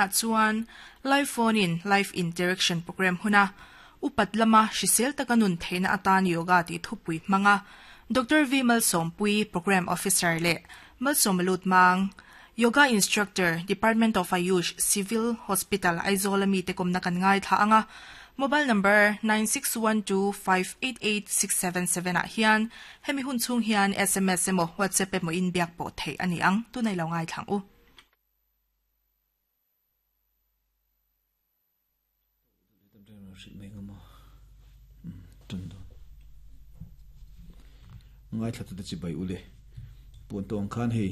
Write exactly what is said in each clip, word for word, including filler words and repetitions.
na chuan live phone in live interaction program huna upat lama hrisel taka nun theina atan yoga ti thupui hmanga Dr. V Malsompui program officer le Malsomalut mang yoga instructor Department of Ayush Civil Hospital Aizawl ami te kom na kan ngai tha anga mobile number nine six one two five eight eight six seven seven ah hian hemi hun chung hian SMS emaw WhatsApp emaw in biak pawh theih ani ang tunai lo ngai thlang u Ngai thla tu chi bai ule pun tong khan hei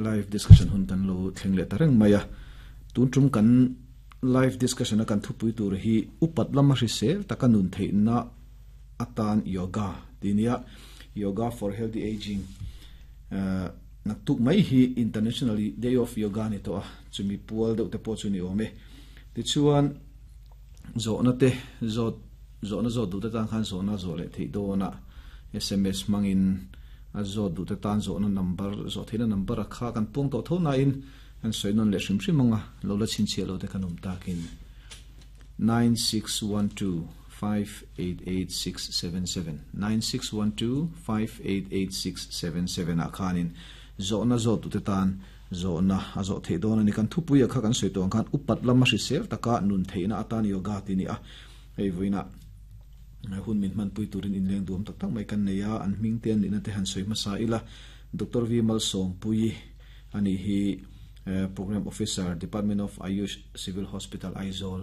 live discussion hun kan lo thleng le tareng maya tun tum kan live discussion a kan thupui tur hi upat lama hri sel taka nun thei na atan yoga tinia yoga for healthy aging nak tuk mai hi international day of yoga ni to a chumi pual deuh te pawh chu ni awm e ti chuan zo na te zo zo na zo du te tan khan zo na zo le thei do na SMS mangin a zo du te tan zo na number zo theina number a kha kan pung to tho na in an soinon le hrim hrim anga lo la chin che lo te kanum takin nine six one two five eight eight six seven seven nine six one two five eight eight six seven seven a khanin zo na zo tu te tan zo na a zo thei don ani kan thupui a kha kan soi tong khan upat lama hri sel taka nun theina atan yoga ti ni a hei voina hun min man pui turin in leng duam tak tak mai kan neia an hming te ni na te han soi masa ila Dr. V Malsom pui ani hi program officer Department of Ayush Civil Hospital Aizawl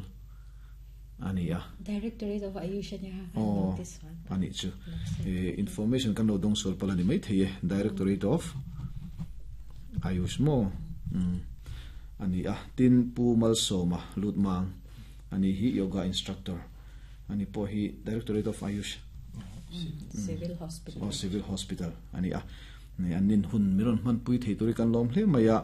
ani a Directorate of Ayush ani ha oh this one ani chu information kan lo dong sol palani mai theye Directorate of Ayush mo ani a tin pu Malsoma Lutmang ani hi yoga instructor ani po hi Directorate of Ayush Civil Hospital oh Civil Hospital ani a ni anin hun miron man pui thei turi kan lom hle maya